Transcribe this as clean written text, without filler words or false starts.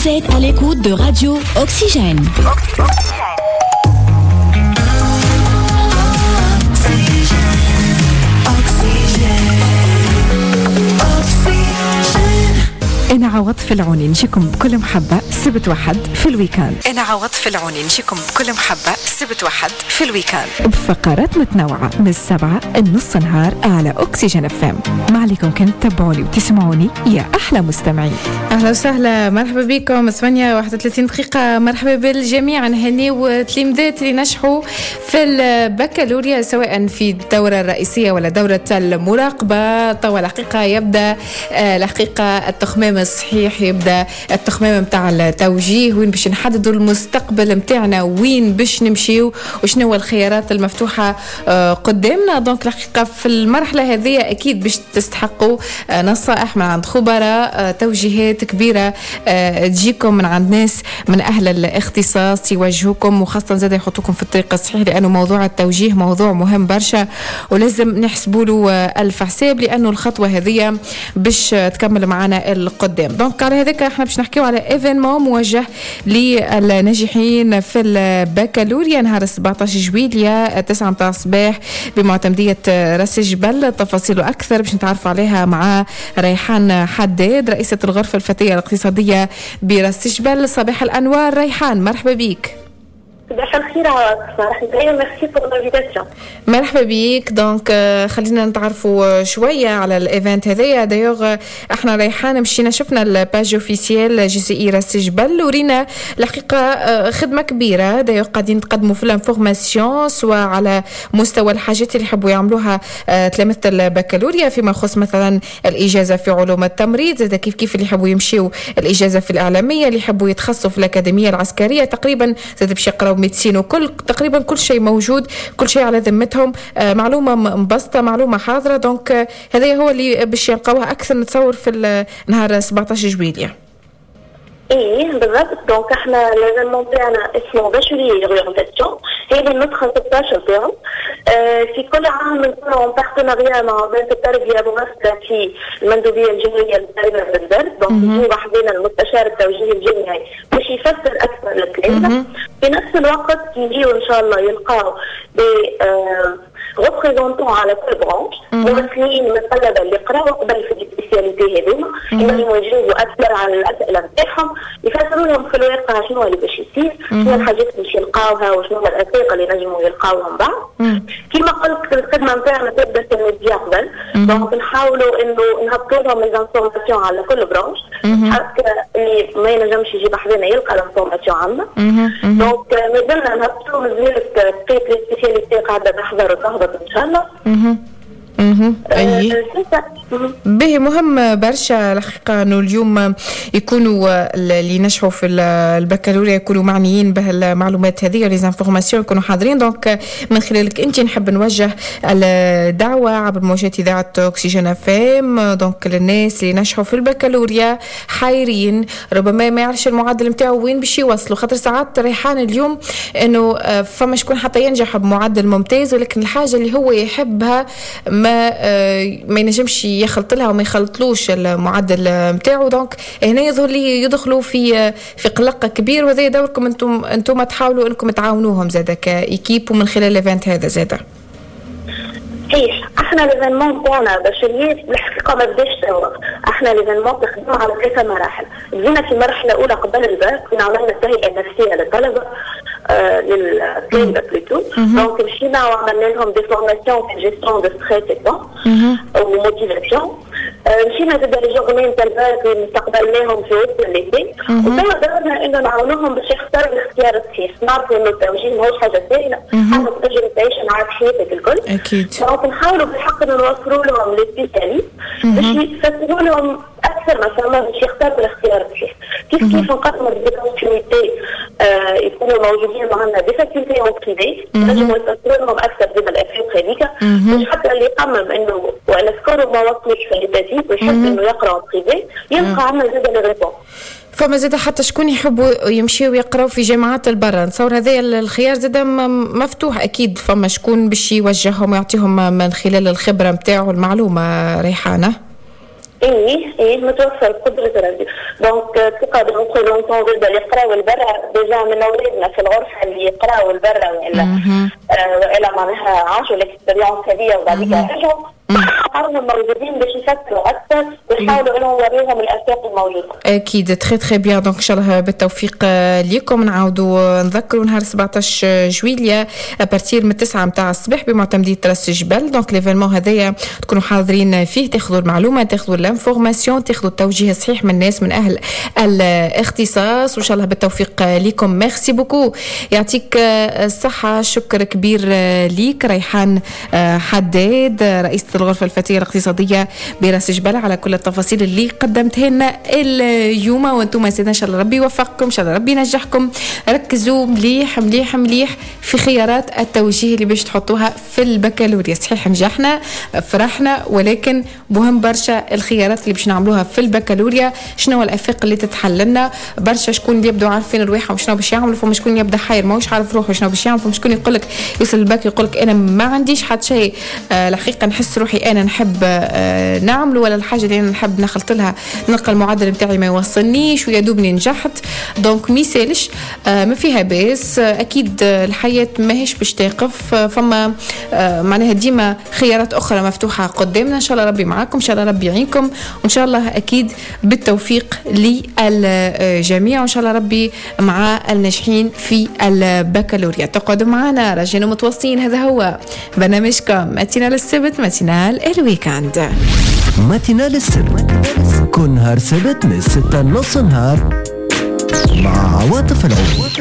Vous êtes à l'écoute de Radio Oxygène. أنا عوض في العوني نجيكم بكل محبة سبت وحد في ال week-end. أنا عوض في العوني نجيكم بكل محبة سبت وحد في ال week-end بفقرات متنوعة من 7 النص نهار على أكسجين FM. ما عليكم كان تتبعوني وتسمعوني يا أحلى مستمعين. أهلا وسهلا، مرحبا بكم. 8:31 دقيقة. مرحبا بالجميع. نهنيو تلامذات اللي نجحوا في البكالوريا سواء في الدورة الرئيسية ولا دورة المراقبة. توا الحقيقة يبدأ الحقيقة التخمام الصحيح، يبدا التخمام نتاع التوجيه، وين باش نحددوا المستقبل نتاعنا، وين باش نمشيو وشنو هو الخيارات المفتوحة قدامنا. donc الحقيقة في المرحلة هذه اكيد باش تستحقوا نصائح من عند خبراء، توجيهات كبيرة تجيكم من عند ناس من اهل الاختصاص يوجهوكم، وخاصة زاد يحطوكم في الطريق الصحيح، لانه موضوع التوجيه موضوع مهم برشا ولازم نحسبوا له الف حساب، لانه الخطوة هذه باش تكمل معنا القدام. donc على هذاك احنا باش نحكيو على événement موجه للناجحين في البكالوريا نهار 17 جويلية 9 متاع الصباح بمعتمدية راس الجبل. تفاصيل اكثر باش نتعرفوا عليها مع ريحان حداد، رئيسة الغرفة الفتية الاقتصادية براس الجبل. صباح الانوار ريحان، مرحبا بك. صباح الخير عواطف، merci pour l'invitation. مرحبا بيك. donc خلينا نتعرفوا شوية على ال event هذايا. d'ailleurs احنا ريحان مشينا شفنا ال page officielle JCI راس الجبل ورينا الحقيقة خدمة كبيرة. d'ailleurs قاعدين تقدموا في l'information سواء على مستوى الحاجات اللي يحبوا يعملوها تلامذه البكالوريا فيما يخص مثلا الاجازة في علوم التمريض، زاد كيف كيف اللي يحبوا يمشيوا الاجازة في الاعلامية، اللي يحبوا يتخصصوا في الاكاديمية العسكرية، تقريبا زاد باش يقراو médecine وكل تقريبا كل شيء موجود، كل شيء على ذمتهم، معلومة مبسطة، معلومة حاضره. donc هذا هو اللي باش يلقاوها اكثر نتصور في نهار 17 جويلية. ايه بالضبط. donc احنا l'événement تاعنا اسمه bachelier orientation، هذه النسخة 16 تاعو. في كل عام نكونوا en partenariat مع وزارة التربية ممثلة في المندوبيه الجهوية للتربية بالدرب. donc يجي وحدنا المستشار التوجيه الجامعي باش يفسر اكثر للتلامذه. في نفس الوقت يجيو ان شاء الله يلقاو des représentants على كل branche، ممثلين من الطلبة اللي قراو قبل في ال spécialités هذوما، ينجموا يجاوبوا اكثر على الاسئلة نتاعهم، يفسروا لهم في الواقع شنو اللي باش يصير، شنو الحاجات اللي باش يلقاوها وشنو الاساق اللي نجموا يلقاوهم بعد. كما قلت الخدمة نتاعنا تبدا في الميديا قبل، donc نحاولوا انه نهبطوا لهم les informations على كل branche حتى اللي ما ينجمش يجيب حذانا يلقى l'information عندنا. donc مازلنا نهبطوا، مازالت بقية les spécialités قاعدة تحضر وتهبط ان شاء الله. اي به مهم برشا الحقيقة انه اليوم يكونوا اللي نجحوا في البكالوريا يكونوا معنيين بهالمعلومات هذه، les informations يكونوا حاضرين. donc من خلالك انت نحب نوجه الدعوة عبر موجات اذاعة اكسجين FM، donc للناس اللي نجحوا في البكالوريا حايرين، ربما ما يعرفش المعدل نتاعو وين باش يوصلوا، خاطر ساعات ريحان اليوم انه فما شكون حتى ينجح بمعدل ممتاز ولكن الحاجة اللي هو يحبها ما ينجمش يخلط لها وما يخلطلوش المعدل نتاعو. donc هنا يظهر لي يدخلوا في قلق كبير، وهذا دوركم انتم تحاولوا انكم تعاونوهم زاده ك équipe ومن خلال ال event هذا زاده. صحيح، احنا l'événement تاعنا bachelier الحقيقة ما بداش توا، احنا l'événement تخدم على 3 مراحل. بدينا في مرحلة اولى قبل الباك، كنا عملنا التهيئه النفسية للطلبة للطلبة plutôt. donc مشينا وعملنا لهم des formations في gestion de stress و motivation. مشينا زاد les journées نتاع الباك استقبلناهم في وسط ال lycée، وتوا دورنا انه نعاونوهم باش يختاروا الاختيار الصحيح. نعرفوا انه التوجيه ماهوش حاجة سهلة، حاجة تنجم تعيش معاك حياتك الكل. اكيد. donc نحاولوا بالحق انه نوفروا لهم les spécialistes باش يفسروا لهم اكثر ما فما باش يختاروا الاختيار الصحيح. كيف كيف نقدموا des opportunités يكونوا موجودين معنا des facultés en privé، نجموا يفسروا لهم اكثر زاد الافاق هذيك، باش حتى اللي يخمم انه ولا score و ما وصلش في l'étatique ويحب انه يقرا en privé يلقى عندنا زاد les réponses. فما زاد حتى شكون يحبوا يمشيوا يقراوا في جامعات البرا، نتصور هذا الخيار زاد مفتوح اكيد، فما شكون باش يوجههم ويعطيهم من خلال الخبرة نتاعو المعلومة. ريحانة ايه، متوفر بقدرة ربي. donc تلقى des représentants زاد اللي يقراو البرا déjà من اولادنا في الغرفه، اللي يقراو البرا والا معناها عاشوا l'expérience هذه وبعديك رجعوا، هم موجودين باش يفكروا اكثر ويحاولوا انهم يوريهم الاسواق الموجوده. اكيد، très très bien. donc ان شاء الله بالتوفيق ليكم. نعاودوا نذكروا نهار 17 جويليا à partir من 9 نتاع الصباح بمعتمديه راس الجبل. donc l'événement هذايا تكونوا حاضرين فيه، تاخذوا المعلومه، تاخذوا l'information، تاخذوا التوجيه الصحيح من الناس من اهل الاختصاص، وان شاء الله بالتوفيق لكم. merci beaucoup، يعطيك الصحه، شكر كبير ليك ريحان حداد، رئيسه الغرفة الفتية الاقتصادية براس جبل، على كل التفاصيل اللي قدمتها لنا اليوم. وانتم سيدنا ان شاء الله ربي يوفقكم، ان شاء الله ربي ينجحكم. ركزوا مليح مليح مليح في خيارات التوجيه اللي باش تحطوها في البكالوريا. صحيح نجحنا، فرحنا، ولكن مهم برشا الخيارات اللي باش نعملوها في البكالوريا، شنو الافاق اللي تتحل لنا. برشا شكون اللي يبدو عارفين رواحهم شنو باش يعملوا، فما شكون يبدا حاير ماهوش عارف روحه شنو باش يعمل، فما شكون يقول لك يوصل الباك يقول لك انا ما عنديش حتى شيء، الحقيقة نحس روحي انا نحب نعمل ولا الحاجة اللي انا نحب نخلط لها نلقى المعدل نتاعي ما يوصلنيش ويا دوبني نجحت. donc ميسالش، ما فيها باس، اكيد الحياة ماهيش باش تقف، فما معناها ديما خيارات اخرى مفتوحة قدامنا. ان شاء الله ربي معاكم، ان شاء الله ربي يعينكم، وان شاء الله اكيد بالتوفيق للجميع، وان شاء الله ربي مع الناجحين في البكالوريا. تقعدوا معنا راجعين متواصلين، هذا هو برنامجكم matinale السبت، matinale ال week-end. matinale السبت، كل نهار سبت من 6 نص نهار مع عواطف العود.